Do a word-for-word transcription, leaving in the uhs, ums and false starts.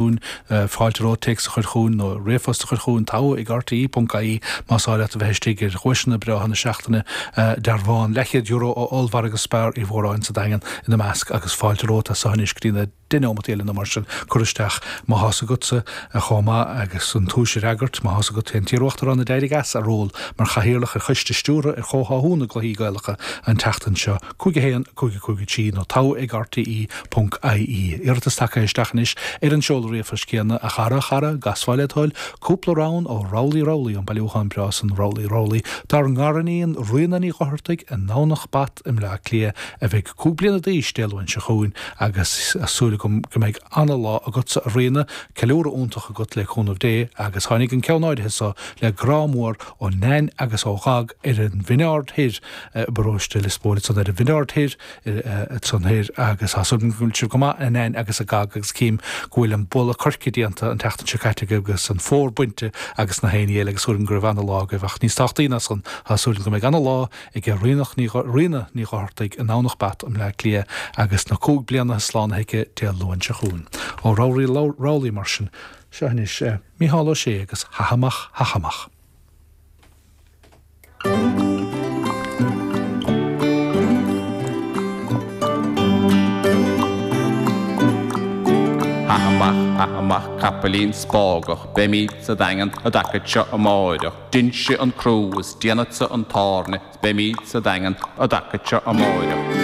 Fáilte romhat téacs a chur chugainn nó ríomhphost a chur chugainn, togha ag R T E ponc I E más áil leat a bheith istigh ar dhuaiseanna breátha na seachtaine, dearbhán leathchéad euro ó ollmhargadh Spar Uí Mhóráin sa Daingean ina measc agus fáilte romhat as seo anois go dtí na deich neomat eile nó mar sin cur isteach má thá's agatsa chomh maith agus an tomhais a fhreagairt má thá's agat cén t-iaruachtarán a d'éirigh as a ról mar chathaoirleach ar choiste stiúrtha ar chomhtháthú na gcluichí Gaelacha an tseachtain seo cúig a haon cúig a cúig a trí nó togha ag R T E ponc I E. Iarratas tagtha isteach anois ar an seoladh ríomhphoist céanna. A chara, a chara, gcasfá le toil cúpla rann ó Roly Roly, an bailiúchán breá san Roly Roly, dár ngariníon Ríona Ní Dhochartaigh i nDomhnach Bat i mBleá Cliath a bheidh cúig bliana d'aois Dé Luain seo chugainn agus súil agam go mbeidh ana-lá agatsa a Ríona, ceiliúradh iontach agat le cúnamh Dé agus tháinig an ceann áirithe seo le grá mór ó Nain agus ó Ghag ar an Bhinn Ard Thoir i bparóiste Lios Póil san ar an Bhinn Ard Thoir san thoir agus tá súil agam go bhfuil sibh go maith a Nain agus a Gag agus cím go bhfuil an bulla coirce déanta an tseachtain seo caite agus an fómhar bainte agus na héin eile agus súil agam go raibh ana-lá agaibh ach níos tábhachtaí ná san tá súil agam go mbeidh ana-lá ag Ríonach Ní Ríona Ní Dhochartaigh i nDomhnach Bat i mBleá Cliath agus na cúig bliana slánaithe aici Dé Luain seo chugainn. Ó Roly Roly mar sin seo anois Mícheál Ó Sé agus Ha amach ha amach. Ha amach ha amach capaillín spágach, Beimid sa Daingean an dtaca seo amáireach, Déanfaidh an crú is déanfadsa an tairne, Beimid sa Daingean an dtaca seo amáireach.